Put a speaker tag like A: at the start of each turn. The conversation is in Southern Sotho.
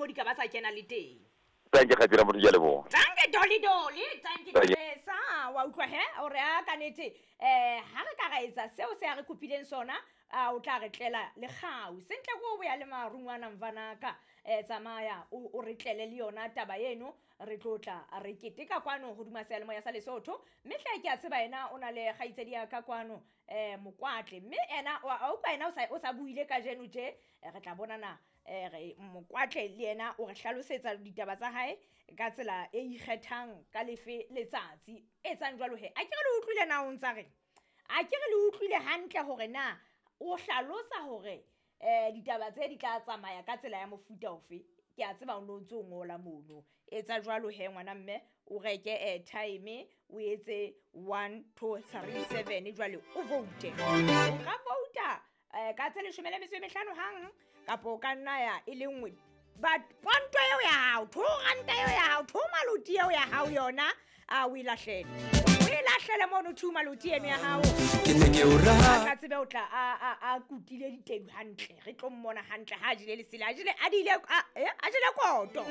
A: mo di ka ba tsa kena le teng.
B: Tanke kgaitsedi ya motho, ke a leboha.
A: Tanke Dolly Dolly, tanke
B: Tanke.
A: Dolesa, wa utlwa he hore a ka nete ha re ka ra etsa seo se a re kopileng sona, a o tla re tlela le kgau. Sentle ko o boya le marungwana mvanaka, tsamaya o re tlele le yona taba eno, re tlo tla re keteka kwano hodima seyalemoya sa Lesotho. Mme hle ke a tseba yena o na le kgaitsedi ya ka kwano, Mokwatle. Mme ena wa utlwa yena o sa buile kajeno tje, re tla bonana, re Mokwatle le yena o re hlalosetsa ditaba tsa hae ka tsela e ikgethang ka lefe letsatsi. Etsang jwalo he. A ke re le utlwile na o ntsa reng? A ke re le utlwile hantle hore na o hlalosa hore ditaba tse di tla tsamaya ka tsela ya mofuta ofe. Ke a tseba o no ntso ngola mono. Etsa jwalo he ngwana mme, o reke airtime, o etse 1 2 3 7 jwale o vote. O ka vouta ka tse 15 hang, kapa o ka nna ya e le nngwe. But ponto eo ya hao, 2 ranta eo ya hao, 2 maloti eo ya hao yona, a o e lahlele. O e lahlele mono 2 maloti eno ya hao.
C: Ke ne ke o rata.
A: A tla tsebe o tla a kutile ditedu hantle. Re tlo mmona hantle ha a jele lesela, a jele, a dile, a, a jele koto.